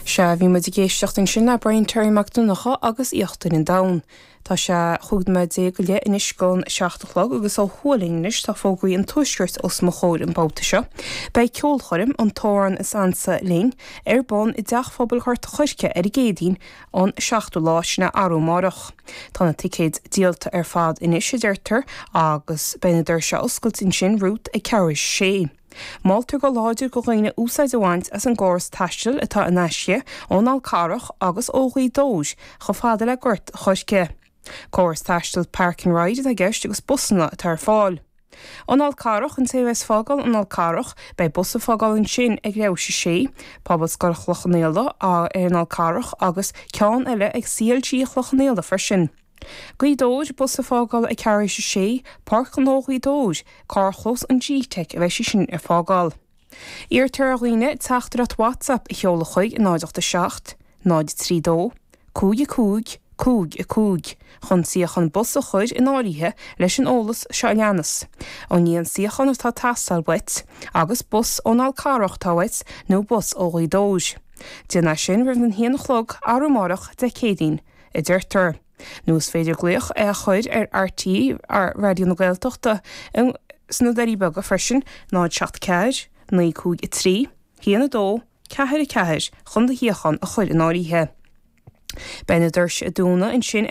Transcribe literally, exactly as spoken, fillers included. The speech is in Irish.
Sea bhí muid ag éisteacht ansin le Brian Terry Mac Donncha agus Íochtar an Domhain. Tá sé chúig nóiméad déag go leith anois don seacht a chlog agus ó thuaidh anois tá fógraí an tuaiscirt os mo chomhair an babhta seo. Beidh ceolchoirm an t-amhrán is ansa linn ar bun i dTeach Phobail Ghort an Choirce ar an gCéadaoin an seachtú lá sin arú amárach. Tá na ticéid díolta ar fad anois a deirtear agus beidh na doirse oscailte ansin romhat ag ceathrú a sé. Moltar go láidir do dhaoine úsáid a bhaint as an gcóras taistil atá in aisce ón Fhál Carrach agus ó Ghaoth Dobhair chomh fada le Gort an Choirce. Córas taistil Park and Ride atá i gceist agus busanna atá ar fáil. An Fhál Carrach an té a bheas ag fágáil an Fhál Carrach beidh bus ag fágáil ansin ag leathuair théis a sé, Pobalscoil Chloich Cheann Fhaola ar an Fhál Carrach agus ceann eile ag CLG Chloich Cheann Fhaola freisin. Gaoth Dobhair bus ag fágáil ag ceathrú théis a sé, Páirc Ghnó Ghaoth Dobhair, carrchlós an GTeic a bheidh sé sin ar fágáil. Iarrtar ar dhaoine teachtaireacht WhatsApp a sheoladh chuig náid ocht a seacht, náid trí dó, cúig a cúig, cúig a cúig, chun suíochán bus a chur in áirithe leis an eolas seo a leanas. An líon suíochán atá ag teastáil uait, agus bus ón Fhál Carrach atá uait nó bus ó Ghaoth Dobhair. Déan é sin roimh an haon a chlog arú amárach Dé Céadaoin, a deirtear. Nó is féidir glaoch é a chur ar RTÉ ar Raidió na Gaeltachta sna Doirí Beaga freisin náid seacht ceathair, naoi cúig a trí, haon a dó, ceathair a ceathair chun do shuíochán a chur in áirithe. Beidh na doirse ag dúnadh ansin